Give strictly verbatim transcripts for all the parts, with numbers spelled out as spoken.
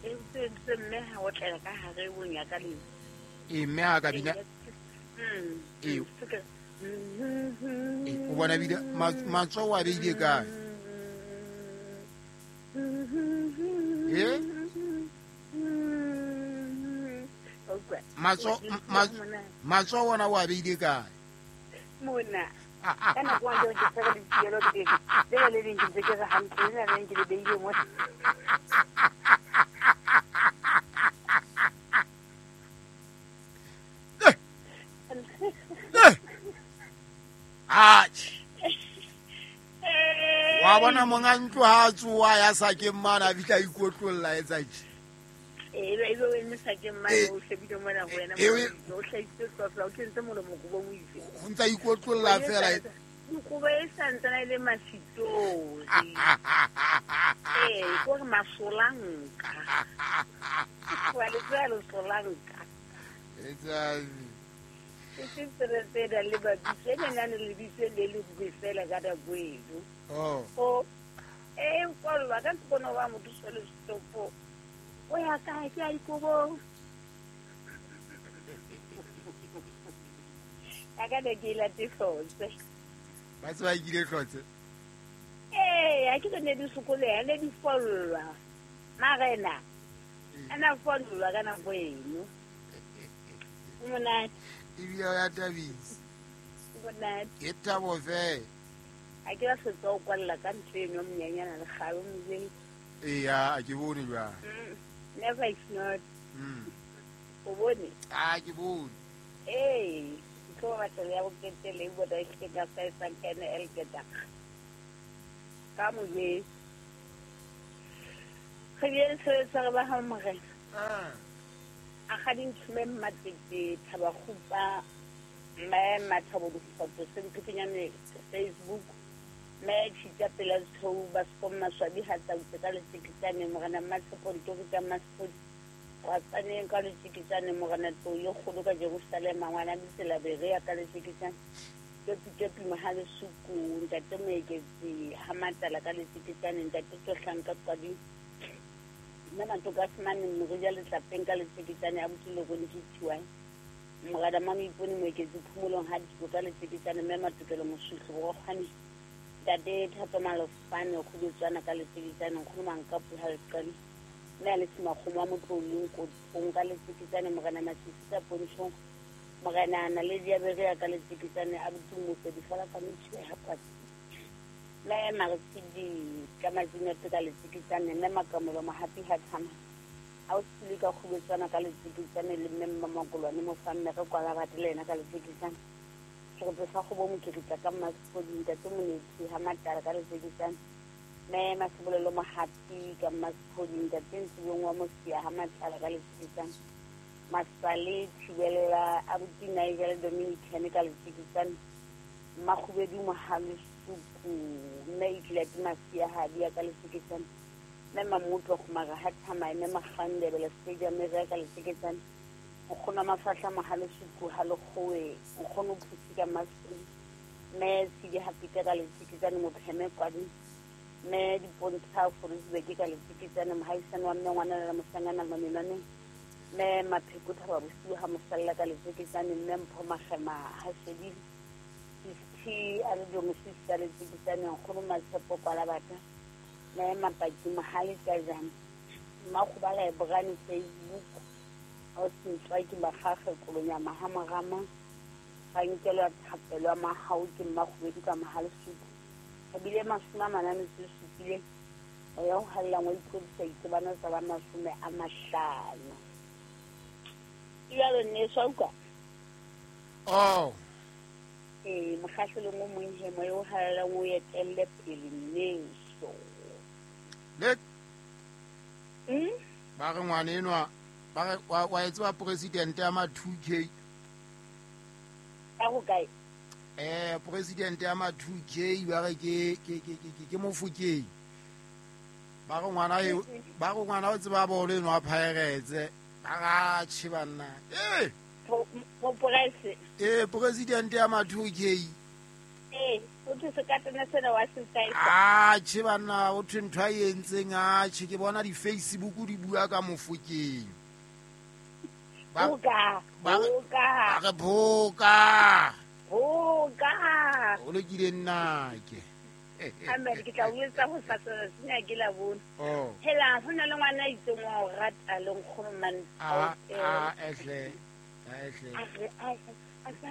E ntse mme ha o tlela ka hare o nyaka le. E mme ha ka bina. Mm. E o bona bile matsoho a beile kae? Eh? Matsoho matsoho ona wa beile kae? Mona. Ka nako wa ke tsere dipielo ke le le leng ke ntse ke re hantle le leng ke le beile mo. Wa bona monga ntlo ha tsoa ya sakeng mana fihla ikotlolla etsa tje. E be e be o sakeng mana o shebile mona ho wena o hlaisitse hlofla o kentse molomo kobo mo itse. O ntsa ikotlolla fela. Kobo e santsana ile masitori. Eh, ko re masolanka. Wa le tsela solanka. Etsa ke se se da le ba bitse ne na le bitse le le bufela ka da buelo. Oh. O e nkolwa ka tsona wa motho sele stopo. O ya ka ke a ikobo. Ka ka de la tifose. Ba tswa ikile hlotse. Eh, a ke ne di sokole, ne di follwa. Marena. Ana follwa kana buelo. Monate. Ebile ya thabisa. Monate. Ke thabo fela. A ke ba setsa o kwalla ka ntho eno mnyanyana le kgalo mzeng. Eya, a ke bone jwang. Never is not. Mm. O bone? Ah, ke bone. Eh, ke tlo batla ya boketele e bona ke ka sa sa kene elke dag. Ka mojeng. Re bien se sa ba ha morena. Ah. A ga dinthume mmatete thaba khupa mme mathabo difoto se mphinyane Facebook mme tshitsa pela tshou ba skomma swabi ha tsa utse ka letsikitsane morena Mmatshepo ntorita Mmasepodi wa tsaneng ka letsikitsane morena tlo yo kgolo ka Jerusalem ngwana ditsela berea ka letsikitsane ke ke mohale suku ntate Moeketsi ha matala ka letsikitsane ntate Tlohlanka qadi nna matoka semane morija letlapeng ka letsikitsane a botile go nthiwa morada Mamoipone Moeketsi phomolong ha diko ka letsikitsane mme Matokelo Mosuhlo go kgwane ntate Thato Malofane go bitswana ka letsikitsane nkgono Mankapu ha leqale mme a le semakgomo wa motlolong kotong ka letsikitsane morena Masisi ka Pontshong morena Naledi ya Berea ka letsikitsane a botumo difala ka metšhe ha kwatsi mme Maresidi ka Mazinete ka letsikitsane mme Makamolo Mohapi ha thama a o sile ka kgobetsana ka letsikitsane le mme Mmakolwane Mofamme re kwala batho le yena ka letsikitsane serope sa kgobo mokiritla ka Mmasepodi ntate Monetsi ha matala ka letsikitsane mme Masebolelo Mohapi ka Mmasepodi ntate Nsibong wa Mosia ha matala ka letsikitsane Masale Thibelela abuti Nigel Dominican ka letsikitsane Mmakgubedu Mohale Suku mme itlile ke Masia ha dia ka letsikitsane mme Mamutlo Kgomara ha thamae mme Magandebele Stadium re ka letsikitsane nkgono Mafahla Mohale Suku ha lekgowe nkgono Phusi ka Mmasepodi mme Tshidi ha Pita ka letsikitsane Mopheme kwadi mme Dipontsha Forisbeke ka letsikitsane mohaisane wa mme ngwana le mosanyana Mamenane mme Mapheko Thaba bosiu ha mosalla ka letsikitsane mme Mpho Magema ha shedile T a re domesisi ka letsikitsane nkgono Matshepo kwala batha mme Mapaki Mohale ka jang Mmakgobala e borane Facebook a o sentswa ke Magage Kolonyama ha Morama ga nkelwa thapelo ya mahau ke Mmakgobedi ka Mohale Suku ebile mashome a mane a metso e supileng o ya ho hallang wa iphodisa itsebana tsa ba mashome a mahlano. Jalo nne swa utlwa? Oh. Eh, mokgahlelong o mong he moya o hallang o etelle pele nneso. Le Mm? Ba re ngwana enwa ba re wa wa etswa president ya ma two K. Ka ho kae? Eh, president ya ma two K ba re ke ke ke ke ke Mofokeng. Ba re ngwana e ba re ngwana o tseba bolo enwa Pirates. Ba ra tjhe banna. Eh. Mo price. Eh, president ya ma two K. Eh. O thwe sekatana sena wa se saisa. Atjhe banna, o thwe ntho a e entseng atjhe ke bona di-Facebook di bua ka Mofokeng. Ba Boka, ba boka. Ba re boka. Boka. O lokile nnake. Amen, ke tla o etsa ho sasa sena ke la bona. Oh. Hela ho na le ngwana a itseng wa o rata le nkgono man. A a ehle. A ehle. A re a a sa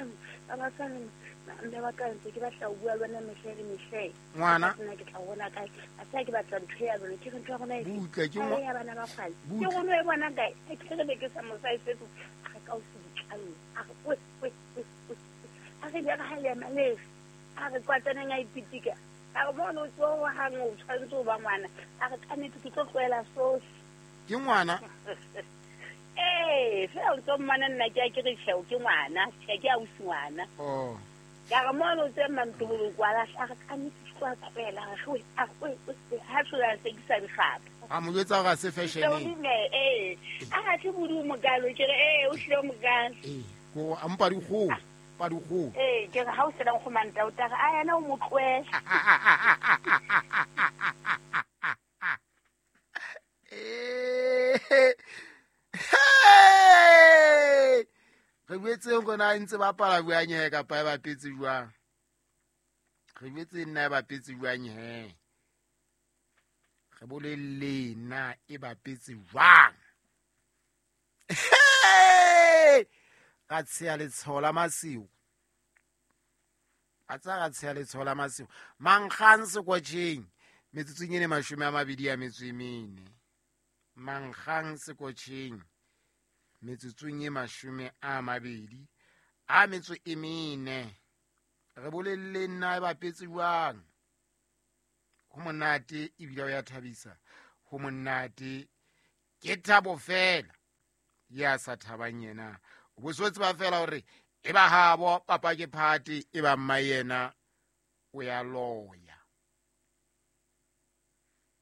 ba ba sa mme ba ka ntse ke batla ho bua le wena mehle le mehle. Ngwana. Nna ke tla bona kae. A sa ke batla ntho ya lona, ke re ntho ya rona e. Butle ke mo ya bana ba kgale. Ke rona e bona kae? Ke re be ke sa mo sa ifetso. A re ka o se ditlalo. A re we we we. A re le ha le male. A re kwatsaneng a ipitika. A re bona o tlo wa hang o tshwantse o ba ngwana. A re ka nnete ke tlo tlohela sohle. Ke ngwana? Eh, fela o ntso mmona nna ke a ke re tjhe ke ngwana, tjhe ke ausi ngwana. Oh. Ka re mona o tse mantobolo kwala, a re ka nnete ke tlo tlohela, a re we, a we, ha tlola se ke sa dikgapa. A mo jwetsa hore a se fashion. Eh, a ha tle bodi mokalo, ke re eh o hlile mokalo. Eh, ko a mpa dikgoho. Pa dikgoho. Eh, ke re ha o sela nkgomanta o tla re a yena o mo tlohela. Eh. Hey! Re boetseng rona ntse ba pala buang he kapa e bapetse jwang? Re boetse nna e bapetse jwang he? Re bolelle na e bapetse jwang? Hey! Ka tsheya letshoho la masiu. A tsa ka tsheya letshoho la masiu. Mankgang sekotjheng metsotsong e mashome a mabedi a metso e mene. Mankgang sekotjheng metsotsong e mashome a mabedi a metso e mene. Re bolelle nna e bapetse jwang? Ho monate ebile o ya thabisa. Ho monate ke thabo fela. Ya sa thabang yena. O bo so tseba fela hore e ba habo papa ke phate e ba mma yena o ya loya.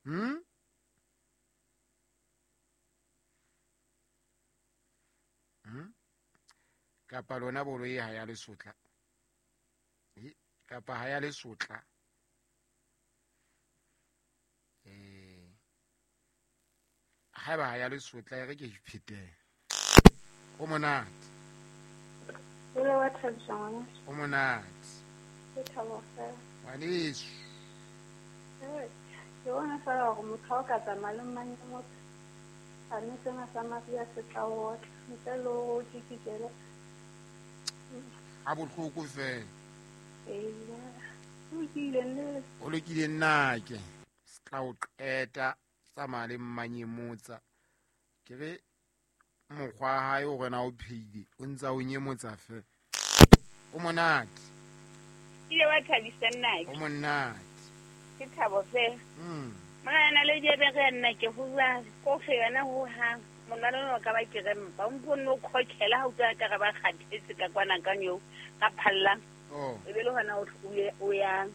Hmm? Hmm? Kapa lona bolo e ha ya lesotla. E kapa ha ya lesotla. Eh. Ha ba ha ya lesotla e re ke iphete. O monate. Ole wa thabisa ngwana. O monate. Ke thabo fela. Ngwaneso. Eh, ke bona fela hore motho o ka tsamaya le mang motho. A ne sena sa Maria se tla o otla. Ntle le hore o kikikele. Ha bohloko fela. Ee. O lokile nne. O lokile nnake. Se tla o qeta tsamaya le mmanyemotsa. Ke re mokgwa hae o rena o pheile o ntsa o nyemotsa fe. O monate. Ile wa thabisa nnake. O monate. Ke thabo fela. Mm. Mona na le jebe re nna ke ho bua ko fe yona ho ha monalo no ka ba ke re mpa o mpone o khokhela ha utlwa ka re ba kgathetse ka kwana ka nyo ka phalla. Oh. E be le hona o o ya.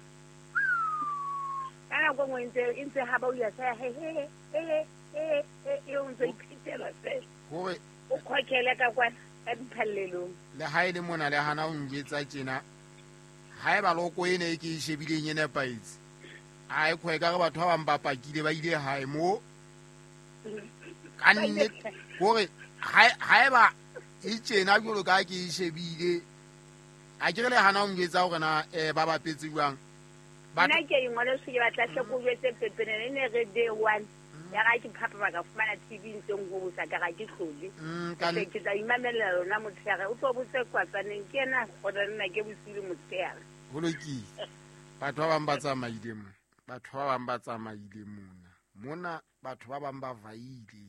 Ka nako nngwe ntse ntse ha ba o ya sa he he he he he o ntse iphitela fela. Hore o khokhela ka kwana ka diphallelong. Le ha ile mona le hana o njwetsa tjena. Ha eba loko ene e ke e shebileng e nepahetse. Ai khwe ka re batho ba bang ba pakile ba ile hae mo. Ka nnete hore ha eba e tjena jwalo ka ke e shebile. A ke re le hana o njwetsa hore na eh ba bapetse jwang. Nna ke ingwale se ke batla hle ko jwetse pepenene ne re day one. Ya ga ke phapa ba ka fumana T V ntseng ho bosa ka ga ke hlole. Ke ke tla imamela lona motshehare o tlo botse kwatsaneng ke ena gona nna ke bosile motshehare. Ho lokile. Batho ba bang ba tsamaile mo. Batho ba bang ba tsamaile mona. Mona batho ba bang ba vaile.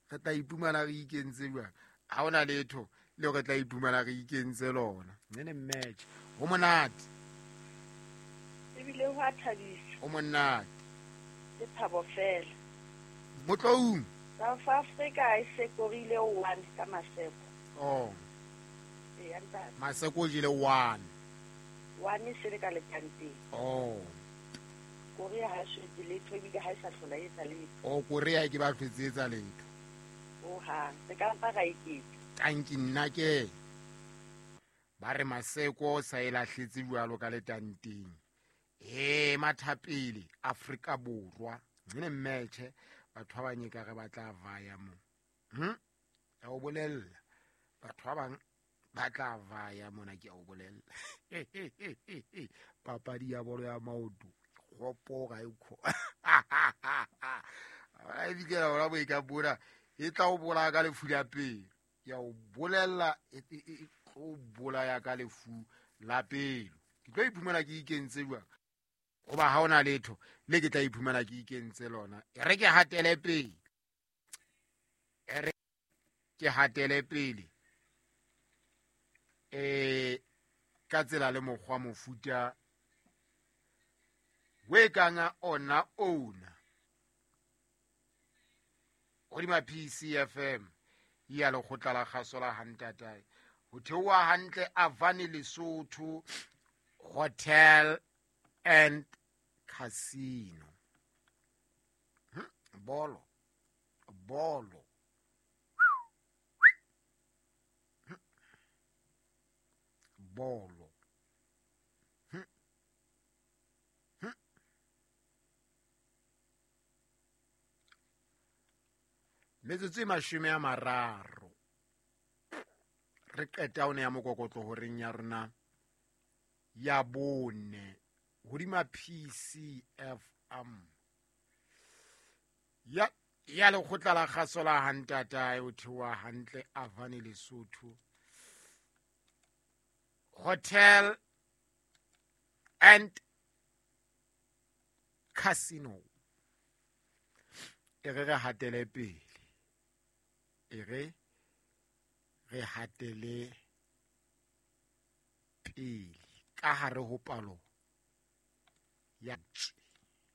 Re tla ipumana re ikentse jwang? Ha hona letho le re tla ipumana re ikentse lona. Nene match. Ho monate. Ebile ho a thabisa. Ho monate. Ke thabo fela. Motloung. South Africa e sekorile one ka Maseko. Oh. E ya ntate. Maseko o jele one. One e se le ka lekanteng. Oh. Korea ha se letho ebile ha e sa hlola e etsa letho. Oh, Korea ke ba hlotse etsa letho. Oh ha, se ka mpa ra iketsa. Tanki nna ke ba re Maseko sa e lahletse jwalo ka letanteng. E mathapele Afrika Borwa ne match batho ba bang e ka re ba tla vaya mo. Hm ya o bolella batho ba bang ba tla vaya mona ke a o bolella. Papadi ya bolo ya maoto kgopo ga e kho. A ebile ora bo e ka bora e tla o bolaya ka lefu la pelo. Ya o bolella e tlo bolaya ka lefu la pelo. Ke tlo iphumana ke ikentse jwang? Hoba ha ona letho le ke tla iphumana ke ikentse lona. E re ke hatele pele. E re ke hatele pele. E ka tsela le mokgwa mofuta we kanga ona ona. Hodima P C F M ya lekgotla la kgaso la Hantatae. Ho theoha hantle Avani Lesotho Hotel and Casino. Hm? Bolo. Bolo. Hm? Bolo. Hm? Hm? Metsotso e mashome a mararo. Re qeta one ya mokokotlo horeng ya rona ya bone hodima P C F M ya ya lekgotla la kgaso la Hantatae o theoha hantle Avani Lesotho Hotel and Casino. E re re hatele pele. E re re hatele pele ka hare ho palo ya